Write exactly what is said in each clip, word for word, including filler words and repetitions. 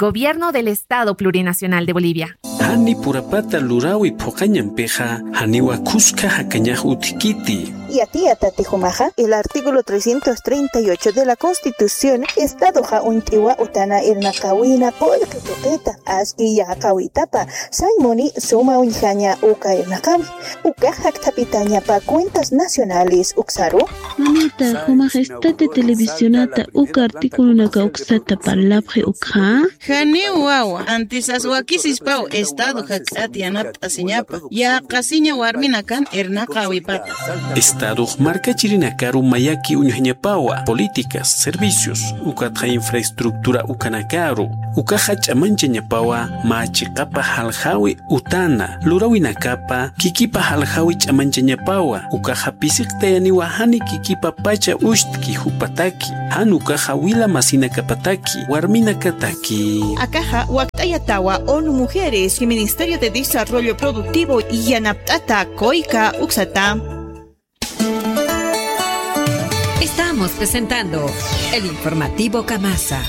Gobierno del Estado Plurinacional de Bolivia. Jani purapata luräwi phuqañampixa, janiwa khuska jakañax utjkiti. Yatiyatati jumaxa, el artículo trescientos treinta y ocho de la Constitución, Estadoxa uñt'iwa utana irnaqäwina qullqi tuqita, aski yäqäwitapa, sañ muni suma uñjaña uka irnaqäwi. Ukax jakthapitañapa cuentas nacionales uksaru. Mamita, jumax esta de televisionata uka articulonaka uksata parlapxi ukxa. Janiw wawa, antisas wakisispaw Estado jakt'at yanapt'asiñapa, yäqasiña warminakan irnaqäwipata. Estadox markachirinakaru mayaki uñjañapawa, políticas, servicios, ukatxa infraestructura ukanakaru, ukaxa ch'amanchañapawa, mä chiqapa jaljäwi utana, luräwinakapa, kikipa jaljäwi ch'amanchañapawa, ukaxa pisiqtayaniwa jani kikipapacha uchtki jupataki, jan ukaxa wila masinakapataki, warminakataki. Akaxa wakt'ayatawa ONU Mujeres y Ministerio de Desarrollo Productivo yanapt'ata COICA uksata. Estamos presentando el informativo Kamasa.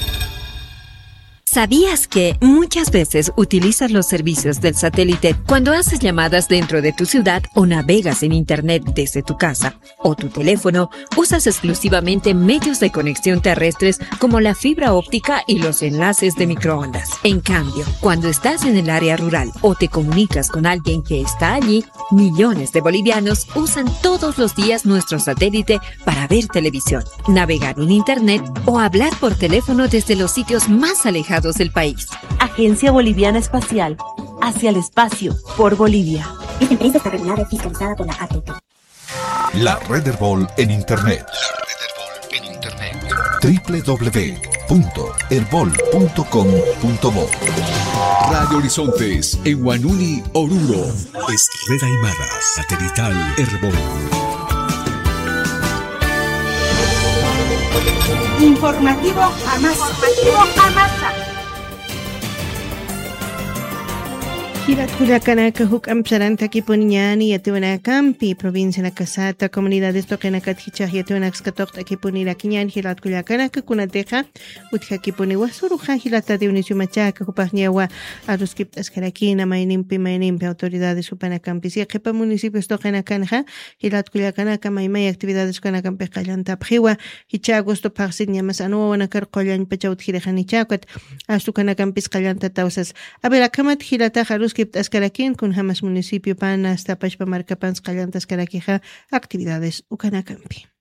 ¿Sabías que muchas veces utilizas los servicios del satélite cuando haces llamadas dentro de tu ciudad o navegas en internet desde tu casa o tu teléfono? Usas exclusivamente medios de conexión terrestres como la fibra óptica y los enlaces de microondas. En cambio, cuando estás en el área rural o te comunicas con alguien que está allí, millones de bolivianos usan todos los días nuestro satélite para ver televisión, navegar en internet o hablar por teléfono desde los sitios más alejados del país. Agencia Boliviana Espacial, hacia el espacio, por Bolivia. Esta empresa está regulada y fiscalizada por la A T T. La Red Erbol en Internet. La Red Erbol en Internet. W W W punto erbol punto com punto bo. Radio Horizontes, en Huanuni, Oruro. Es Red Aymara, satelital Erbol. Informativo Kamasa. Informativo Kamasa. Jilat kullakanaka, juk'amp sarantakipuniñäni yatiwanakampi, provincianakasata, comunidades tuqinakat jichhax yatiwanakas katuqt'akipunirakïñäni jilat kullakanaka, kunatixa utjakipuniwa suruxa jilata Dionisio Machaca, jupaxñawa aruskipt'askarakïna maynimpi maynimpi autoridades jupanakampis. Yaqhipa municipios tuqinakanxa jilat kullakanaka maymay actividades ukanakampix qallantapxiwa, jichha agosto phaxsit ñamas anu wawanakar qullañpacha utjirixanichäkat, astu ukanakampis qallantataw sas. A ver, akhamat jilatax aruskipt'askarakïn kunjamas municipiopan hasta pachpa markapans qallantaskarakixa actividades ukanakampi.